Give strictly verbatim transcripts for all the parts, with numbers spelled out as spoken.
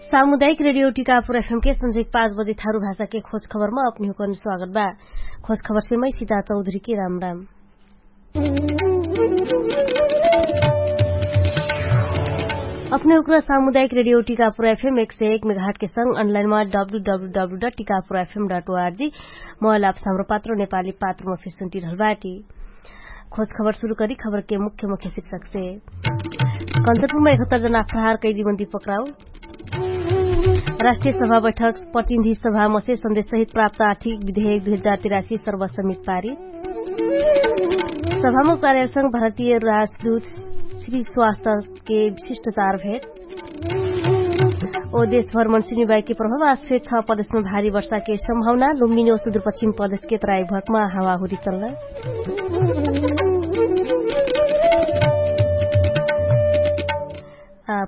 सामुदायिक रेडियो टिकापुर एफएम के संझेक पाँच बजे थारु भाषा के खोज खबर मा अपनी हुकन स्वागत बा। खोज खबर से मै सीता चौधरी के राम राम। अपने हुकन सामुदायिक रेडियो टिकापुर एफएम एक सय एक मेघाट के संग अनलाइन मा W W W dot Tikapur F M dot O R G mobile app साम्रो पात्र नेपाली पात्र मा फिर सुन्टी रहल बाटी। खोज खबर सुरु करी खबर के मुख्य मुख्य शीर्षक से। कन्चनपुरमा एकहत्तर जना अपराहार कैदी मन्दी पक्राउ। राष्ट्रिय सभा बैठक प्रतिनिधि सभा मसे सन्देश सहित प्राप्त आर्थिक विधेयक दुई हजार तिरासी सर्वसमित पारित। सभामुख कार्यालयसँग भारतीय राजदूत श्री स्वास्थ्य के विशिष्ट चार भेट। ओ देशभर मनसुनी बाइके प्रभाव आस्फे छ प्रदेशमा भारी वर्षाके सम्भावना लुम्बिनी ओ सुदूरपश्चिम प्रदेशके तराई भकमा हावाहुरी चल्ला।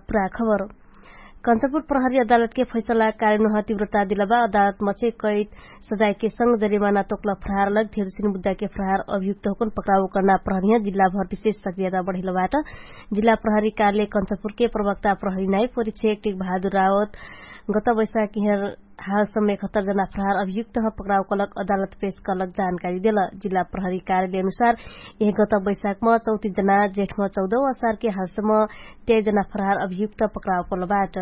पुरा खबर। कन्चनपुर प्रहरी अदालतके फैसला कार्यनुह तिव्रता दिलबा अदालत मचे कैत सजायके संग जरिमाना तोक्ल फ्रहार लग धेरुसिन बुद्धाके फ्रहार अभियुक्त होकन पक्राउ कर्ना प्रहरिह जिल्लाभर विशेष सक्रियता बढेलबाट। जिल्ला प्रहरी कार्यालय कन्चनपुरके प्रवक्ता प्रहरी नाइ परिक्षे एकटिक भादुर रावत गत बैशाखिहर हाल समय खत्तर जना फ्रहार अभियुक्त ह पक्राउ कलक अदालत पेश कलक जानकारी देल। जिल्ला प्रहरी कार्यालय अनुसार यह गत बैशाखम चौतिस जना जेठम चौदौ असारके हालसम तेर जना फ्रहार अभियुक्त पक्राउ कलबाट।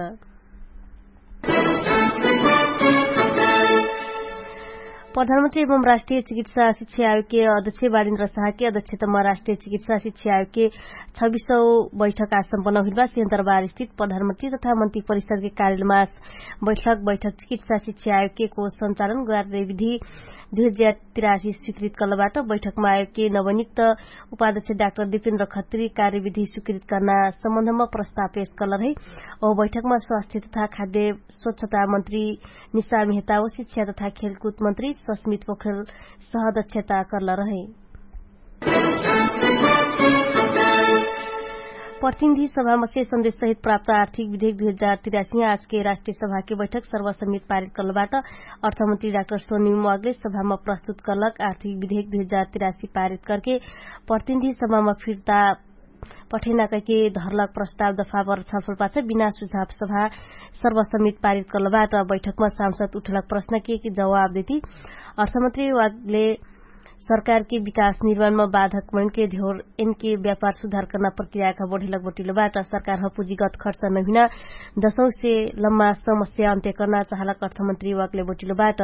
प्रधानमन्त्री एवं राष्ट्रिय चिकित्सा शिक्षा आयोगके अध्यक्ष बालिन्द्र साहके अध्यक्षतम राष्ट्रिय चिकित्सा शिक्षा आयोगके छबिसौ बैठक आसम्पन्न हुइलबा सिंहदरबार स्थित प्रधानमन्त्री तथा मन्त्री परिषदके कार्यलमास बैठक बैठक चिकित्सा शिक्षा आयोगके को सञ्चालन गरारे विधि दुई हजार तिरासी स्वीकृत कलबाट। बैठकमा आयोगके नवनिक्त उपाध्यक्ष डाक्टर दिपेन्द्र खत्री कार्यविधि स्वीकृत कर्ना सम्बन्धमा प्रस्ताव पेश कलर है। ओ बैठकमा स्वास्थ्य तथा खाद्य स्वच्छता मन्त्री निशा मेहता ओ शिक्षा तथा खेलकुद मन्त्री सस्मित पोखरेल सहदक्षता कर्ल रहे। प्रतिनिधि सभामा से सन्देश सहित प्राप्त आर्थिक विधेयक दुई हजार तिरासी आजके राष्ट्रिय सभाके बैठक सर्वसमित पारित कर्लबाट। अर्थमन्त्री डाक्टर सोनी मगले सभामा प्रस्तुत कर्लक आर्थिक विधेयक दुई हजार तिरासी पारित कर्के प्रतिनिधि सभामा फिर्ता पठेना कैके धर्लक प्रस्ताव दफाबर छलफल पाछ बिना सुझाव सभा सर्वसमित पारित कर्लबाट। बैठकमा सांसद उठलक प्रश्नके जवाब देती अर्थमन्त्री वागले सरकारके विकास निर्माणमा बाधक मनके ध्यौर एनके व्यापार सुधार कर्ना प्रक्रियाका बढेलक बटिलोबाट। सरकारह पुँजीगत खर्च नहुइना दशौंसे लम्मा समस्या अन्त्य कर्ना चाहलक अर्थमन्त्री वागले बटिलोबाट।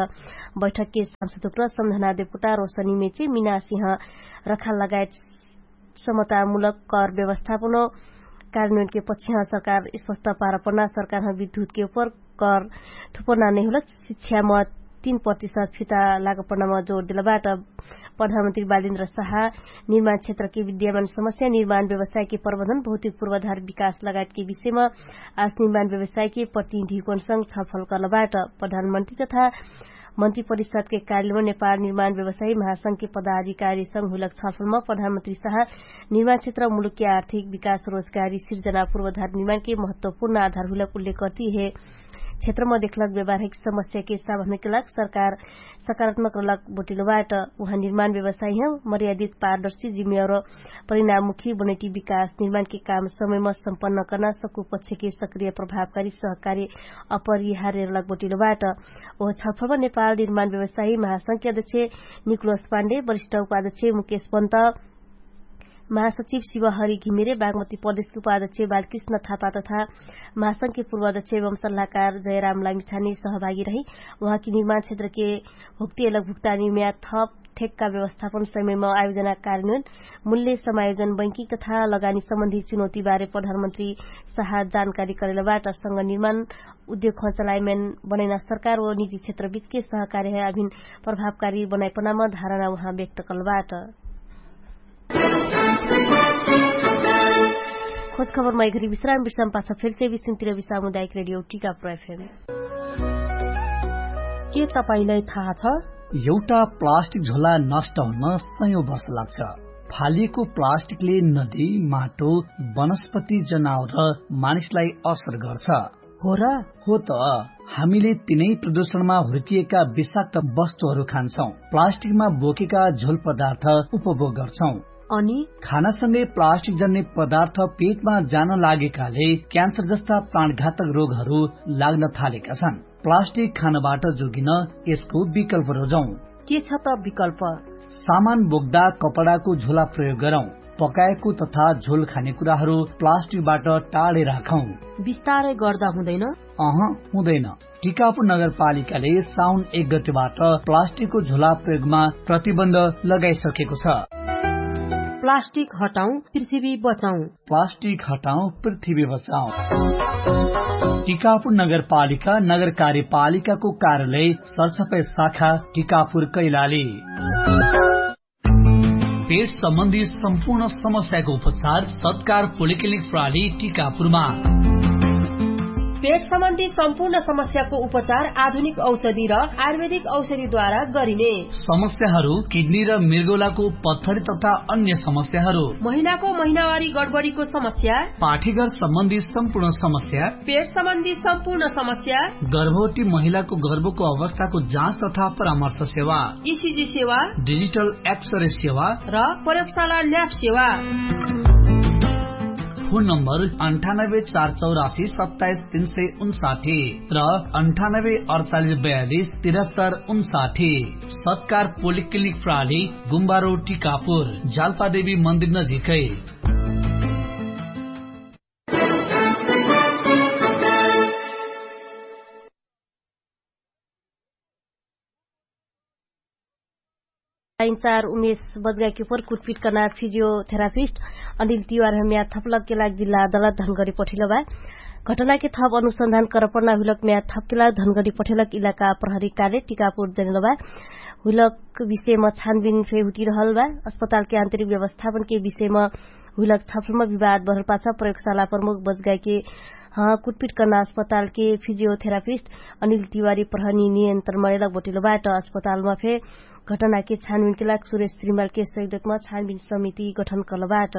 बैठकके सांसदुक्र सम्झना देवकोटा रोसनी मेचे मिनासिह रखा लगायत समतामूलक कर व्यवस्थापन कार्यान्वयनके पक्षह सरकार स्पष्ट पारपना सरकारह विद्युतके उपर कर थुपना नैहुलक शिक्षाम तीन प्रतिशत फिता लागपनाम जोर देलबाट। प्रधानमन्त्री बालेन्द्र साहा निर्माण क्षेत्रके विद्यमान समस्या निर्माण व्यवसायके प्रबन्धन भौतिक पूर्वाधार विकास लगायतके विषयम आज निर्माण व्यवसायके प्रतिनिधिकोनसँग छलफल कर्लबाट। प्रधानमन्त्री तथा मन्त्री परिषदके कार्यलयमा नेपाल निर्माण व्यवसायी महासंघके पदाधिकारीसँग हुइलक छलफलमा प्रधानमन्त्री साहा निर्माण क्षेत्र मुलुकके आर्थिक विकास रोजगारी सिर्जना पूर्वाधार निर्माणके महत्वपूर्ण आधार हुइलक उल्लेख कर्ती हे क्षेत्रमा देखलक व्यवहारिक समस्याके सावधानके लाग सरकार सकारात्मक रहलक बोटिलोबाट। उहाँ निर्माण व्यवसायी ह मर्यादित पारदर्शी जिम्मेवार परिणाममुखी बनैटी विकास निर्माणके काम समयमा सम्पन्न कर्ना सकु पक्षके सक्रिय प्रभावकारी सहकारी अपरिहार्य रहलक बोटिलोबाट। ओह छलफलमा नेपाल निर्माण व्यवसायी महासंघके अध्यक्ष निकोलस पाण्डे वरिष्ठ उपाध्यक्ष मुकेश पन्त महासचिव शिवहरि घिमिरे बागमती प्रदेशके उपाध्यक्ष बालकृष्ण थापा तथा महासंघके पूर्वाध्यक्ष एवं सल्लाहकार जयराम लामिछानी सहभागी रही। उहाँकी निर्माण क्षेत्रके भुक्तियलक भुक्तानी म्याद थप ठेक्का व्यवस्थापन समयमा आयोजना कार्यान्वयन मूल्य समायोजन बैंकिक तथा लगानी सम्बन्धी चुनौतीबारे प्रधानमन्त्री साहा जानकारी करेलबाट संग निर्माण उद्योग खचलायमैन बनैना सरकार ओ निजी क्षेत्रबीचके सहकार्य अभिन प्रभावकारी बनाइपनाम धारणा उहाँ व्यक्त कलबाट। खोज खबरमा एघरी विश्राम विश्राम पाछ फेरसे विश्रामतिर विश्राम उदायक रेडियो टिका प्रफेम। के तपाईंलाई थाहा छ? एउटा प्लास्टिक झोला नष्ट हुन सयौं वर्ष लाग्छ। फालिएको प्लास्टिकले नदी, माटो, वनस्पति, जनावर र मानिसलाई असर गर्छ। हो र? हो त। हामीले तिनै प्रदूषणमा हुर्किएका विषाक्त वस्तुहरू खान्छौं। प्लास्टिकमा बोकेका झोल पदार्थ उपभोग गर्छौं। अनि खानासँगै प्लास्टिक जन्ने पदार्थ पेटमा जान लागेकाले क्यान्सर जस्ता प्राणघातक रोगहरू लाग्न थालेका छन्। प्लास्टिक खानबाट जोगिन यसको विकल्प रोजौं। के छ त विकल्प? सामान बोक्दा कपडाको झोला प्रयोग गरौं। पकाएको तथा झोल खाने कुराहरू प्लास्टिकबाट टाढे राखौं। विस्तारै गर्दा हुँदैन? अह, हुँदैन। टिकापुर नगरपालिकाले साउन एक गतिबाट प्लास्टिकको झोला प्रयोगमा प्रतिबन्ध लगाइसकेको छ। प्लास्टिक हटाउँ, पृथ्वी बचाउँ। प्लास्टिक हटाउँ, पृथ्वी बचाउँ। टिकापुर नगरपालिका नगर कार्यपालिकाको कार्यालय सरसफाइ शाखा टिकापुर कैलाली। पेट सम्बन्धी सम्पूर्ण समस्याको उपचार सत्कार पोलिक्लिनिक प्राली टिकापुरमा। पेट सम्बन्धी सम्पूर्ण समस्याको उपचार आधुनिक औषधि र आयुर्वेदिक औषधिद्वारा गरिने। समस्याहरू किडनी र मृगौलाको पत्थरी तथा अन्य समस्याहरू, महिनाको महिनावारी गडबडीको समस्या, पाठीघर सम्बन्धी सम्पूर्ण समस्या, पेट सम्बन्धी सम्पूर्ण समस्या, गर्भवती महिलाको गर्भको अवस्थाको जाँच तथा परामर्श सेवा, इसिजी सेवा, डिजिटल एक्सरे सेवा र प्रयोगशाला ल्याब सेवा। फोन नम्बर अन्ठानब्बे चार चौरासी सत्ताइस तीन सय उन्साठी र अन्ठानब्बे अडचालिस बयालिस तिरहत्तर उन्साठी। सत्कार पोलिक्लिनिक प्राली गुम्बारो टिकापुर, जाल्पादेवी मन्दिर नजिकै। लाइनचार उमेश बजगाइके उपर कुटपिट कर्ना फिजियोथेरापिस्ट अनिल तिवार हम्या थपलक के लाग जिल्ला अदालत धनगडी पठिलो बा। घटनाके थप अनुसन्धान करपर्ना हुइलक म्या थपके लाग धनगडी पठेलक इलाका प्रहरी काले टिकापुर जनिलो बा। हुइलक विषयमा छानबिन फे हुटिरहल बा। अस्पतालके आन्तरिक व्यवस्थापनके विषयमा हुइलक छफलमा विवाद बढल पाछ प्रयोगशाला प्रमुख बजगाइके कुटपिट कर्ना अस्पतालके फिजियोथेरापिस्ट अनिल तिवारी प्रहरी नियन्त्रण मरेलक बटिलो बाट। अस्पतालमा फे घटनाके छानबिनके लाग सुरेश श्रीमालके सहयोगमा छानबिन समिति गठन कर्ल बाट।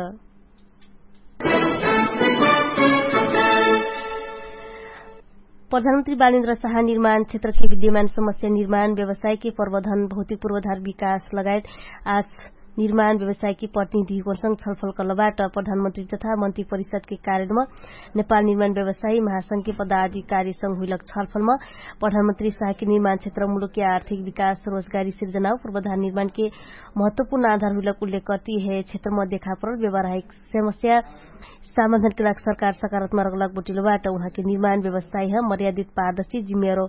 प्रधानमन्त्री बालेन्द्र साहा निर्माण क्षेत्रके विद्यमान समस्या निर्माण व्यवसायके प्रवधन भौतिक पूर्वधार विकास लगायत आस निर्माण व्यवसायके प्रतिनिधिकोनसँग छलफल कर्ल बाट। प्रधानमन्त्री तथा मन्त्री परिषदके कार्यलमा नेपाल निर्माण व्यवसायी महासंघके पदाधिकारीसँग हुइलक छलफलमा प्रधानमन्त्री साहके निर्माण क्षेत्र मुलुकके आर्थिक विकास रोजगारी सिर्जनाउ पूर्वधार निर्माणके महत्वपूर्ण आधार हुइलक उल्लेख कर्ती हे क्षेत्रमा देखापरल व्यवहारिक समस्या समाधानके लाग सरकार सकारात्मक रगलक बटिलो बाट। उहाँके निर्माण व्यवसायी ह मर्यादित पारदर्शी जिम्मेवारो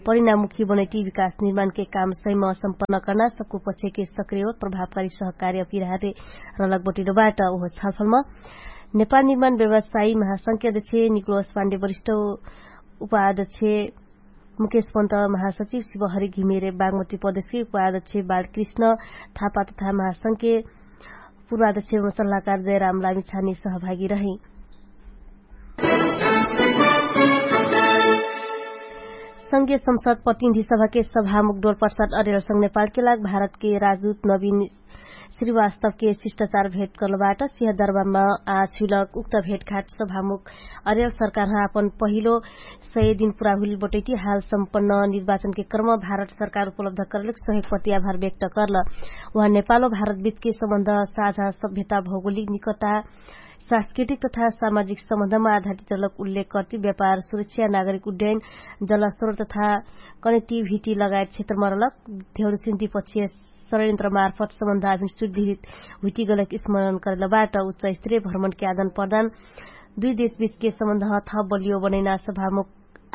परिणामुखी बनैटी विकास निर्माणके काम सहिम सम्पन्न कर्ना सक्कु पक्षके सक्रिय प्रभावकारी सहकार्य अपिराहरे रलक बटिलो बाट। उहो छलफलमा नेपाल निर्माण व्यवसायी महासंख्या अध्यक्ष निक्लोस पाण्डे वरिष्ठ उपाध्यक्ष मुकेश पन्त महासचिव शिवहरी घिमेरे बागमती प्रदेशके उपाध्यक्ष बालकृष्ण थापा तथा महासंख्या पूर्वाध्यक्ष सल्लाहकार जयराम लामिछानी सहभागी रहे। संघीय संसद प्रतिनिधि सभाके सभामुख डोलप्रसाद अरेलसँग नेपालके लाग भारतके राजदूत नवीन श्रीवास्तवके शिष्टाचार भेट कर्लबाट सिहदरबारमा आछुइलक उक्त भेटघाट सभामुख अरेल सरकारह आपन पहिलो सय दिन पुरा हुइल बटैटी हाल सम्पन्न निर्वाचनके क्रम भारत सरकार उपलब्ध करलक सहयोग प्रति आभार व्यक्त कर्ल। उहाँ नेपालो भारत बिचके सम्बन्ध साझा सभ्यता भौगोलिक निकटता सांस्कृतिक तथा सामाजिक सम्बन्धमा आधारित रहलक उल्लेख कर्ति व्यापार सुरक्षा नागरिक उड्डयन जलस्रोत तथा कनेक्टिभिटी लगायत क्षेत्रमा रहलक धेउरसिन्ति पक्षीय षड्यन्त्र मार्फत सम्बन्ध आभिन सुदृढित हुइटिगलक स्मरण करेलबाट उच्च स्त्रीय भ्रमणके आदान प्रदान दुई देशबिचके सम्बन्ध थप बलियो बनैना सभामुख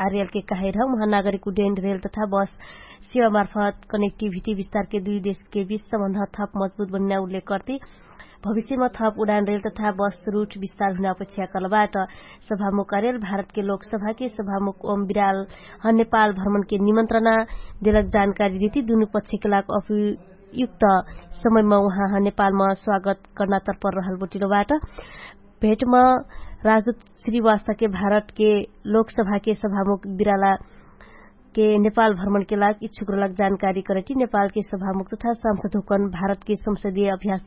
आर्यलके कहाइरह उहाँ नागरिक उड्डयन रेल तथा बस सेवा मार्फत कनेक्टिभिटी विस्तारके दुई देशके बिच सम्बन्ध थप मजबुत बनैना उल्लेख कर्ति भविष्यमा थप उडान रेल तथा बस रुट विस्तार हुना अपेक्षा कर्लबाट। सभामुख आर्यल भारतके लोकसभाके सभामुख ओम बिराल ह नेपाल भ्रमणके निमन्त्रणा देलक जानकारी देति दुनु पक्षके लाग अभियुक्त समयमा उहाँ ह नेपालमा स्वागत कर्ना तर्पर रहल बटिलोबाट। भेटमा राजदूत श्रीवास्तके भारतके लोकसभाके सभामुख बिरालाके नेपाल भ्रमणके लाग इच्छुक रहलक जानकारी करैटी नेपालके सभामुख तथा सांसद हुकन भारतके संसदीय अभ्यास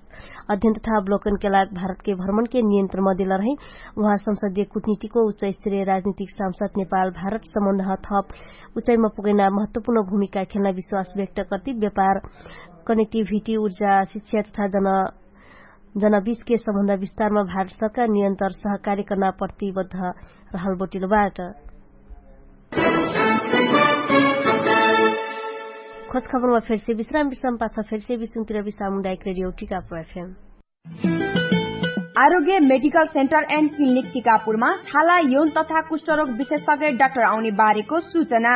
अध्ययन तथा अवलोकनके लाग भारतके भ्रमणके नियन्त्रण मदेल रहै। उहाँ संसदीय कुटनीतिको उच्च स्तरीय राजनीतिक सांसद नेपाल भारत सम्बन्धह थप उचाइमा पुगैना महत्वपूर्ण भूमिका खेल्ना विश्वास व्यक्त कर्ति व्यापार कनेक्टिभिटी उर्जा शिक्षा तथा जन जनबिचके सम्बन्ध विस्तारमा भारत सरकार नियन्तर सहकार्य कर्ना प्रतिबद्ध रहल बोटिलो बाट। खोज खबरमा फेरसे विश्राम विश्राम पाछ फेरसे विश्राम तिर विश्राम उन्दायक रेडियो टिकापुर एफएम। आरोग्य मेडिकल सेन्टर एन्ड क्लिनिक टिकापुरमा छाला यौन तथा कुष्ठरोग विशेषज्ञ डाक्टर आउने बारेको सूचना।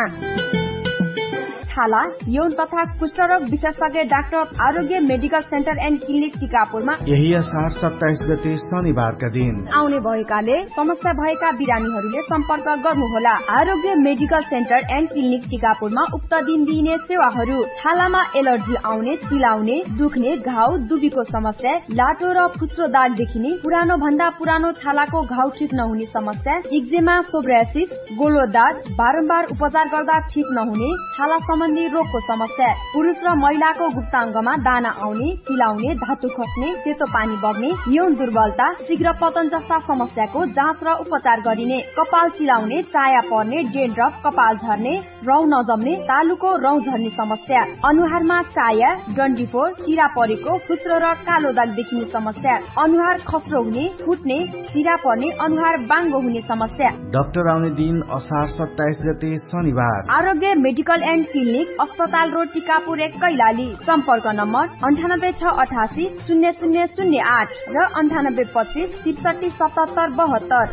छाला यौन तथा कुष्ठरोग विशेषज्ञ डाक्टर आरोग्य मेडिकल सेन्टर एन्ड क्लिनिक टिकापुरमा यही असार सत्ताइस गते शनिबारका दिन आउने भएकाले समस्या भएका बिरामीहरूले सम्पर्क गर्नुहोला। आरोग्य मेडिकल सेन्टर एन्ड क्लिनिक टिकापुरमा उक्त दिन दिइने सेवाहरू छालामा एलर्जी आउने, चिलाउने, दुख्ने, घाउ, दुबीको समस्या, लाटो र फुस्रो दाग देखिने, पुरानो भन्दा पुरानो छालाको घाउ ठिक नहुने समस्या, इक्जेमा, सोब्रासिस, गोलो दाग, बारम्बार उपचार गर्दा ठिक नहुने छाला सम्बन्धी रोगको समस्या, पुरुष र महिलाको गुप्ताङ्गमा दाना आउने, चिलाउने, धातु खस्ने, सेतो पानी बग्ने, यौन दुर्बलता, शीघ्र पतन जस्ता समस्याको जाँच र उपचार गरिने, कपाल चिलाउने, चाया पर्ने, डेन्ड्रफ, कपाल झर्ने, रौँ नजम्ने, तालुको रौँ झर्ने समस्या, अनुहारमा चाया, डन्डीफोर, चिरा परेको, फुस्रो र कालो दाग देखिने समस्या, अनुहार खस्रो हुने, फुट्ने, चिरा पर्ने, अनुहार बाङ्गो हुने समस्या। डाक्टर आउने दिन असार सत्ताइस गते शनिबार। आरोग्य मेडिकल एन्ड क्लिनिक, अस्पताल रोड, टिकापुर एक, कैलाली। सम्पर्क नम्बर अन्ठानब्बे छ अठासी शून्य शून्य शून्य आठ र अन्ठानब्बे पच्चिस त्रिसठी सतहत्तर बहत्तर।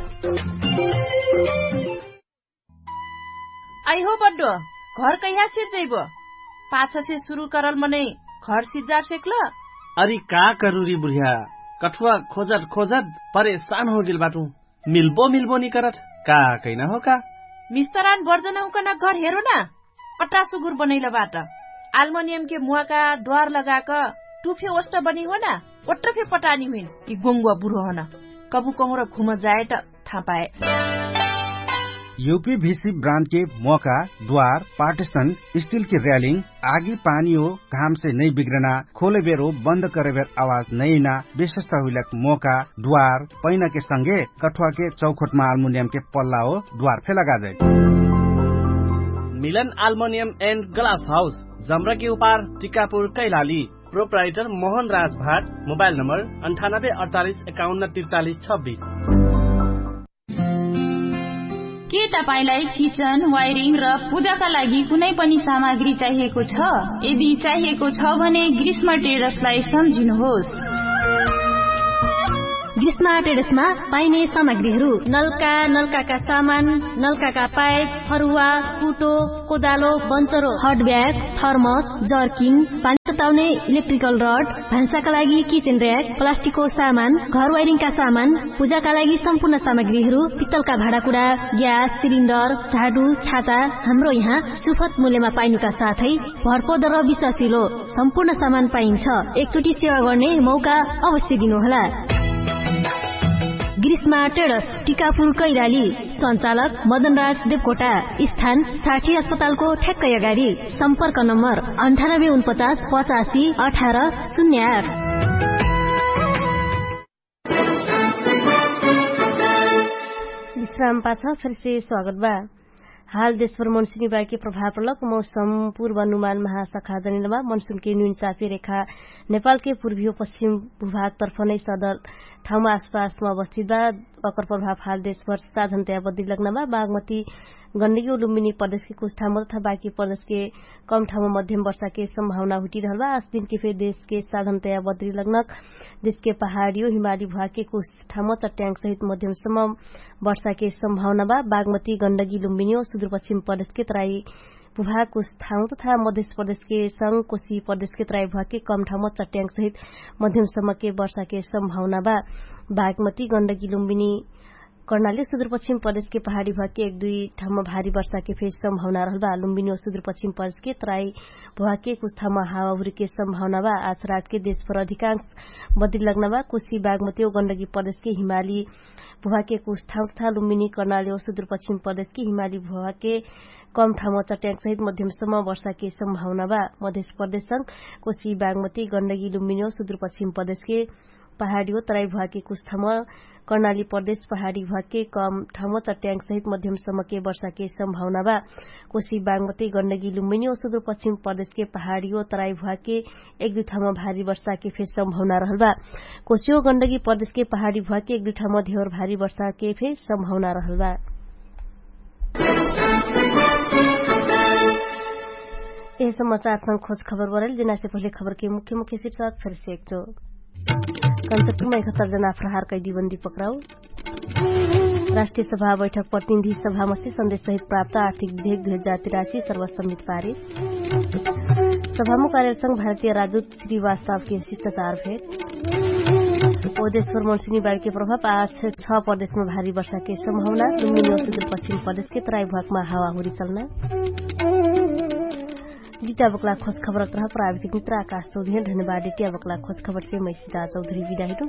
आइहो बड्डो, घर कैहा सिर्जैबो? पाछसे सुरु करल मनै घर सिर्जार सेक्ल? अरि का करुरी बुढिया, कठुवा खोजत खोजत परेशान होगेल बाटु। मिल्बो मिल्बो निकरत। का कैना हो का? मिस्तरान बर्जनहुकन घर हेरो ना। अट्टा सुगुर बनैल बाट। आल्मनियमके मुवाका द्वार लगाक टुफे ओष्ट बनी हो ना। ओट्ट फे पटानी हुइन कि गोङ्गुवा बुढो हन। कबु कहुँर घुम जाए त थाहा पाए। युपी भिसी ब्रान्डके मोका, द्वार, पार्टिसन, स्टिलके र्यालिङ, आगी पानी हो घामसे नै बिग्रना, खोले बेरो बन्द करे बेर आवाज नै ना। विशेषता हुइलक मोका, द्वार, पैनाके संगे कठुवाके चौखोटमा आल्मुनियमके पल्ला हो द्वार फे लगाजै। मिलन आल्मुनियम एन्ड ग्लास हाउस, जम्रकी उपार, टिकापुर, कैलाली। प्रोप्राइटर मोहन राज भाट। मोबाइल नम्बर अन्ठानब्बे अडचालिस एकाउन्न त्रिचालिस छब्बिस। के तपाईंलाई किचन, वायरिङ र पूजाका लागि कुनै पनि सामग्री चाहिएको छ? यदि चाहिएको छ भने ग्रीष्म ट्रेडर्सलाई सम्झिनुहोस्। ग्रीष्म ट्रेडर्समा पाइने सामग्रीहरू नल्का, नल्काका सामान, नल्काका पाइप, फरुवा, कुटो, कोदालो, बन्चरो, हट ब्याग, थर्मस, जर्किन, पानी तताउने इलेक्ट्रिकल रड, भान्साका लागि किचेन र्याक, प्लास्टिकको सामान, घर वाइरिङका सामान, पूजाका लागि सम्पूर्ण सामग्रीहरू, पित्तलका भाँडाकुडा, ग्यास सिलिन्डर, झाडु, छाता, हाम्रो यहाँ सुफत मूल्यमा पाइनुका साथै भरपर्दर विश्वासिलो सम्पूर्ण सामान पाइन्छ। एकचोटि सेवा गर्ने मौका अवश्य दिनुहोला। ग्रीष्मा ट्रेडर्स, टिकापुर, कैलाली। सञ्चालक मदनराज देवकोटा। स्थान साठी अस्पतालको ठ्याक्कै अगाडि। सम्पर्क नम्बर अन्ठानब्बे उनपचास पचासी अठार शून्य आठ। विश्राम पाछ फेरसे स्वागत बा। हाल देशभर मनसुनी बाकी प्रभाव प्रलक मौसम पूर्वानुमान महाशाखा जनिलमा मनसुनके नुइन चापी रेखा नेपालके पूर्वी हो पश्चिम भूभाग तर्फ नै सदर ठाउँमा आसपासमा अवस्थित बा। अकर प्रभाव हाल देशभर साधनतया बद्री लग्ना बा। बागमती गण्डगी उलुम्बिनी प्रदेशके कुछ ठाउँमा तथा बाकी प्रदेशके कम ठाउँमा मध्यम वर्षाके सम्भावना हुटिरहल बा। आस दिनके फेर देशके साधनतया बद्री लग्नक देशके पहाडियो हिमाली भुवाके कुछ ठाउँमा चट्याङ्ग सहित मध्यम सम्म वर्षाके सम्भावना बा। बागमती गण्डगी लुम्बिनियो सुदुरपश्चिम प्रदेशके तराई भुभाग कुछ ठाउँ तथा मध्यस प्रदेशके संग कोशी प्रदेशके तराई भुभागके कम ठाउँमा चट्याङ्ग सहित मध्यम सम्मके वर्षाके सम्भावना बा। बागमती गण्डगी लुम्बिनी कर्णाली सुदुरपश्चिम प्रदेशके पहाडी भुभागके एक दुई ठाउँमा भारी वर्षाके फेर सम्भावना रहल बा। लुम्बिनियो सुदुरपश्चिम प्रदेशके तराई भुभागके कुछ ठाउँमा हावाहुरीके सम्भावना बा। आज रातके देशभर अधिकांश बद्री लग्ना बा। कोशी बागमती ओ गण्डगी प्रदेशके हिमाली भुभागके कुछ ठाउँ तथा लुम्बिनी कर्णाली ओ सुदुरपश्चिम प्रदेशके हिमाली भुभागके कम ठाउँमा चट्याङ्ग सहित मध्यम सम्म वर्षाके सम्भावना बा। मध्यस प्रदेशसँग कोशी बागमती गण्डगी लुम्बिनी ओ सुदुरपश्चिम प्रदेशके पहाडियो तराई भुवाके कुछ ठाम कर्णाली प्रदेश पहाडी भुवाके कम ठाम चट्याङ्ग सहित मध्यम समके वर्षाके सम्भावना बा। कोशी बागमती गण्डगी लुम्बिनी ओ सुदूरपश्चिम प्रदेशके पहाडियो तराई भुवाके एक दुइ ठाम भारी वर्षाके फेर सम्भावना रहल बा। कोशियो गण्डगी प्रदेशके पहाडी भुवाके एक दुइ ठाम धेवर भारी वर्षाके फेर सम्भावना रहल बा। यह समाचार संग खोज खबर बरल जेनासे पहिले खबरके मुख्य मुख्य शीर्षक फेर सेक्चो। कन्सक्टुमा एकहत्तर जना प्रहार कैदी बन्दी पक्राउ। राष्ट्रिय सभा बैठक प्रतिनिधि सभामसी सन्देश सहित प्राप्त आर्थिक विधेयक दुई हजार तिरासी सर्वसम्मित पारित। सभामुख कार्यालयसँग भारतीय राजदूत श्री वास्तवके शिष्टाचार भेट। ओदेश्वर मनसिनी बाइके प्रभाव आज छ प्रदेशमा भारी वर्षाके सम्भावना दुन्निन सुदूरपश्चिम प्रदेशके तराई भुवाकमा हावाहुरी चल्ना। जित्या बक्ला खोज खबर अत्रह प्राविधिक मित्र आकाश चौधरी धन्यवाद। जित्या बक्ला खोज खबर से मै सिदा चौधरी बिदा हिटु।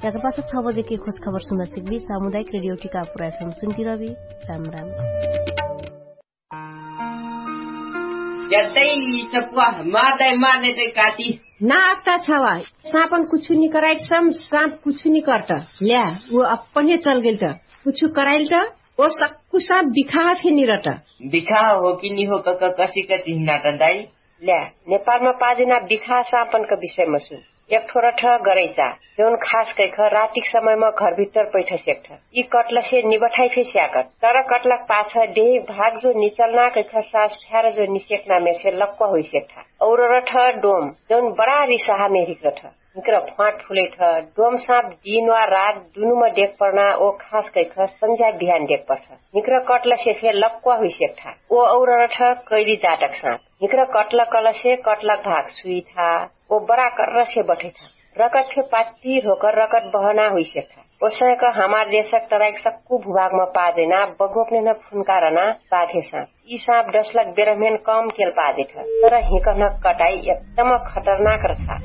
याकर पास छ बजे के खोज खबर सुन्दा सिकबी सामुदायिक रेडियो टिका पुरा एफएम सुन्ती रहबी। राम राम। यतै सपुवा मार दै मार नै दै काटी। ना अक्ता छावा। सापन कुछु नि कराइट सम साप कुछु नि कर्ट। ल्या उ अपने चल गेल्ट। कुछु कराइल्ट। ओ सक्कु साप बिखाह फेनि रट। बिखाह हो कि नि हो कक कसिक चिहनाट दाइ। ल्या नेपालमा पाजिना बिखाह सापनक विषयमा सुन। एकठो रठ गरैचा जौन खास कैख रातिक समयमा घरभित्तर पैठसेक्ठ। यि कटलसे निबठाइ फेस्याकट तर कटलक पाछ देहिक भाग जो निचल्ना कैख सास फ्यार जो निसेक्नामेसे लक्क हुइसेक्ठा। और रठ डोम जौन बडा रिसहा मेहरिक रठ। हिक्र फ्वाट फुलैठ। डोम साप दिन वा रात दुनुम देखपर्ना ओ खास कैख संझ्या बिहान देखपर्ठ। हिक्र कटलसे फे लक्क हुइसेक्ठा। ओ और रठ कैली जाटक साप। हिक्र कटलक कलसे कटलक भाग सुइठा। ओ बडा कर्रसे बठैठा। रकत फे पात्तिर होकर रकत बहना हुइसेक्ठा। ओसैक हमार देशक तराइक सक्कु भुभागमा पाजैना बगोपनेन फुन्कारना पाघे साप। यि साप डसलक बेरहमेन कम केल पाजेठ। तर हिकहनक कटाई एकदम खतरनाक रथा।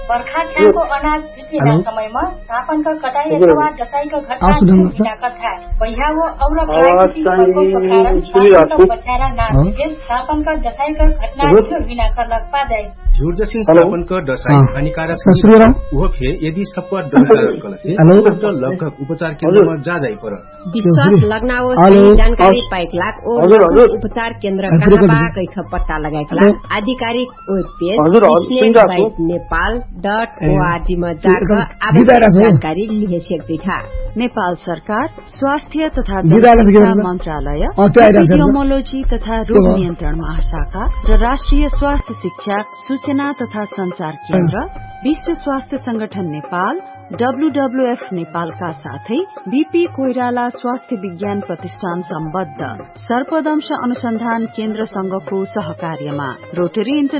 बर्खा छ्याको अनाज बिक्रिना समयमा सापनक कटाई अथवा डसाइक घटना बिना कथा। पहिया वो और प्राकृतिक प्रकोपको कारण सापनक बच्यारा ना सके सापनक डसाइक घटना बिना करलक पाजाइ। झुर्जसिन सापनक डसाई हानिकारक उहो फे यदि सप्वा डर कारण कलसे लगभग उपचार केन्द्रमा जा जाइ पर। विश्वास लग्ना ओ सही जानकारी पाइक लाग ओ उपचार केन्द्र कहाँ बा कैख पत्ता लगाइक लाग आधिकारिक web page snake bite Nepal dot O R G मा जाक आवश्यक जानकारी लिहे सेक्दैठा। नेपाल सरकार स्वास्थ्य तथा जनसंख्या मन्त्रालय एपिडियोमोलोजी तथा रोग नियन्त्रण महाशाखा र राष्ट्रिय स्वास्थ्य शिक्षा सूचना तथा संचार केन्द्र विश्व स्वास्थ्य संगठन नेपाल डब्ल्युडब्ल्युएफ नेपालका साथै बिपी कोइराला स्वास्थ्य विज्ञान प्रतिष्ठान सम्बद्ध सर्पदंश अनुसन्धान केन्द्रसँगको सहकार्यमा रोटरी